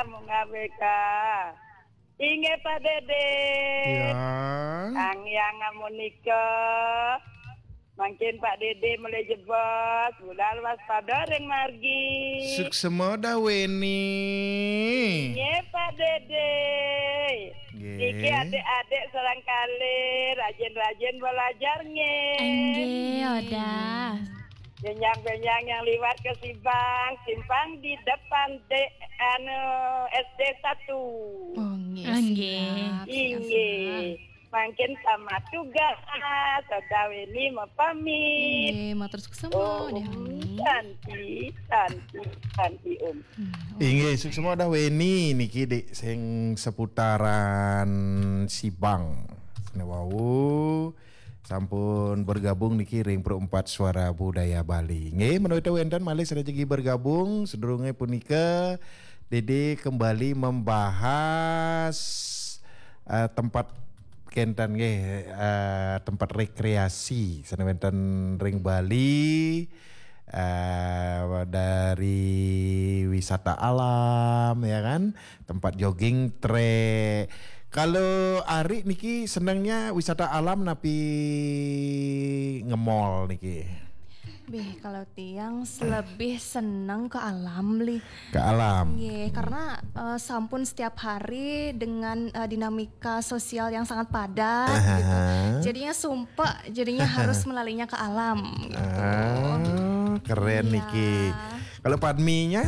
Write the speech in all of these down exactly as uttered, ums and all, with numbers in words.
Mung A B K. Inggih, Pak Dede. Ya. Ang yang amunika. Mangkin Pak Dede mulai jebos, budal waspada ring margi. Suksema dah Weni. Inggih, Pak Dede. Nggih. Niki adik-adik sareng kalih, rajin-rajin belajar nggih. Inggih, Odah. Benjang-benjang yang liwat ke Sibang, simpang di depan de, anu, S D satu. Oh, nggih, nggih. Siap, siap, inggih. Siap. Mangkin tamat tugas, Odah Weni mapamit. Inggih, matur suksema, Om Odah Weni. Santi, Santi, Santi, Om. Hmm, Om. Inggih, suksema Odah Weni niki, Dik, sing seputaran Sibang. Sane wau sampun bergabung niki ring Pro empat Suara Budaya Bali. Nggih, menawi wenten malih sane jagi bergabung, sedurunge punika Dede kembali membahas, eh, tempat kenten nggih, eh, tempat rekreasi sane wenten ring Bali, eh, dari wisata alam, ya kan, tempat jogging track. Kalau Ari niki senengnya wisata alam napi nge-mall niki? Bih, kalau tiang lebih seneng ke alam, Li. Ke alam. Nggih, karena, eh, sampun setiap hari dengan, eh, dinamika sosial yang sangat padat, gitu. Aha. Jadinya sumpek, jadinya harus melarinya ke alam, gitu. Ah, keren niki. Iya. Kalau Padminya?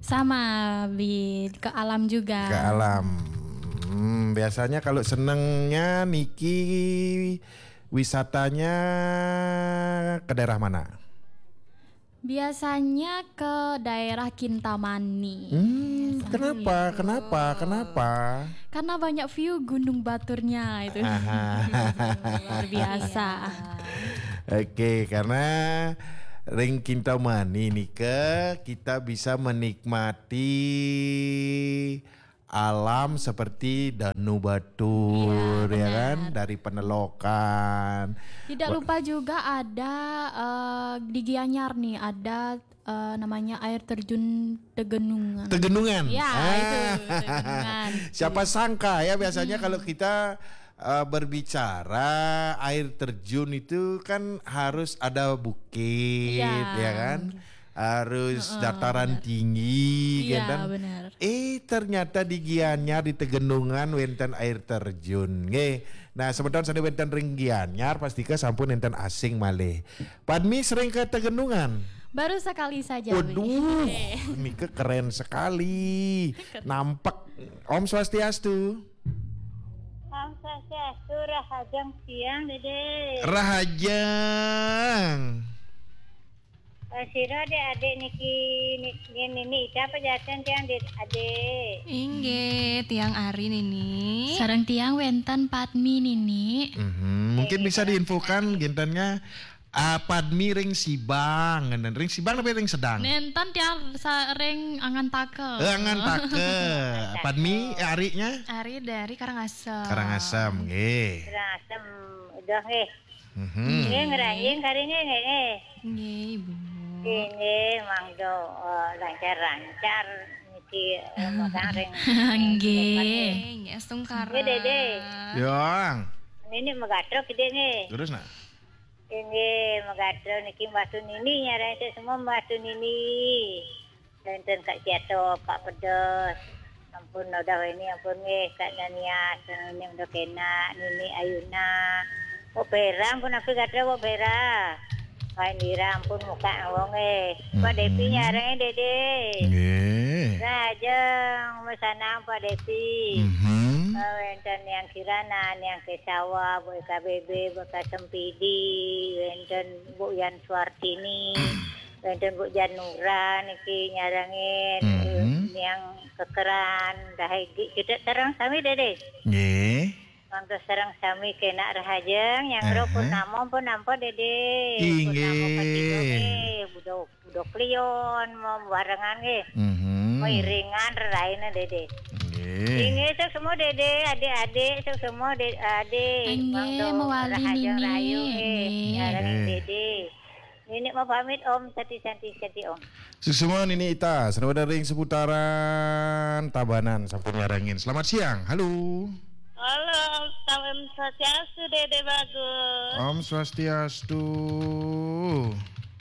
Sama, Bid, ke alam juga. Ke alam. Hmm, biasanya kalau senengnya niki wisatanya ke daerah mana? Biasanya ke daerah Kintamani. Hmm, kenapa? Kenapa? Kenapa? Karena banyak view Gunung Baturnya itu. Aha. Luar biasa. Iya. Oke, karena ring Kintamani nika kita bisa menikmati alam seperti Danu Batur, iya, ya kan? Benar. Dari Penelokan. Tidak lupa juga ada, eh, di Gianyar nih, ada, eh, namanya air terjun Tegenungan. Tegenungan. Ya, ah, itu, Tegenungan. Siapa sangka ya, biasanya, hmm, kalau kita, eh, berbicara air terjun itu kan harus ada bukit, iya, ya kan? Harus, heeh, dataran, benar, tinggi, iya, kan? Benar. Eh, ternyata di Gianyar, di Tegenungan, wenten air terjun. Nggih. Nah, semeton sane wenten ring Gianyar, pastika sampun enten asing malih. Padmi sering ke Tegenungan? Baru sekali saja, Wi. Waduh, nggih, nika keren sekali. Keren. Nampek. Om Swastiastu. Om Swastiastu, rahajeng tiang, Dede. Rahajeng. Eh, sira adik-adik niki, ni-, niki Nini Ida apa jaten tiang, Dik, adik? Inggih, tiang Ari, Nini. Sareng tiang wenten Padmi, Nini. Mhm, mungkin bisa diinfokan gentennya, ah, Padmi ring Sibang, ngenten ring Sibang tapi ring Sedang? Nenten tiang sa-, ring Angantaka. Eh, Angantaka. Padmi, eh, Ariknya? Ari dari Karangasem. Karangasem, nggih. Karangasem, udah nggih. Mhm. Nggih, ngranjing kari nggih, nggih, nggih. Nggih, Ibu. Nggih, nggih, mangda, eh, lancar-lancar niki, eh, magang ring. Nggih. Nggih, astungkara. Nggih, Dede. Yang. Nini Megatro, Dede, nggih. Terus, nak? Nggih, Megatro niki Mbah Tunini, nyaran saya semua Mbah Tunini. Wénten Kak Ciato, Kak Pedes. Ampun, udah ini, ampun nggih, Kak Dania, ini udah kena, Nini Ayuna. Mbok Vera, ampun, aku gatra, Mbok Vera. Pak Indira, ampun, muka wong nggih. Pak Devi, mhm, nyarengé, Dede. Nggih. Rahajeng, mesanang, Pak Devi. Mhm. Eh, wénten Yang Kirana, Yang Kesawa, Bu K B B, Bu K Sempidi, wénten Bu Yan Suartini. Wénten Bu Janura niki nyarengin, mhm, eh, Niang Kekeran, Rahegi, kita sareng sami, Dede. Nggih. Mangda sareng sami kenak rahajeng, yang, aha, ro purnama pun nampa, Dede. Inggih. Purnama ketiga nggih, buda, buda klion, mau barengan nggih. Mhm. Mau iringan reraina, Dede. Nggih. Inggih, sok semua, Dede, adik-adik, sok semua, De-, adik. Inggih, mangda mewali rahajeng Nini. Rahayu nggih. Nggih. Nyarengin, nggih, Dede. Nini mau pamit, Om, santi-santi, santi, Om. Suksma Nini Ita, sareng ring seputaran Tabanan sampun nyarengin. Selamat siang. Halo. Halo, Om Swastiastu, Dede Bagus. Om Swastiastu.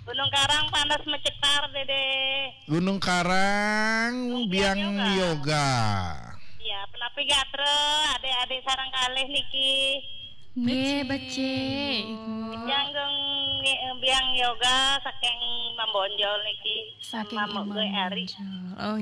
Gunung Karang panas mecetar, Dede. Gunung Karang, Biang Yoga. Ya, penapi gatra, adik-adik sareng kalih niki. Nggih, becik. Yang dong Biang Yoga saking Mambonjol niki. Saking Mamuk gue Ari. Oh,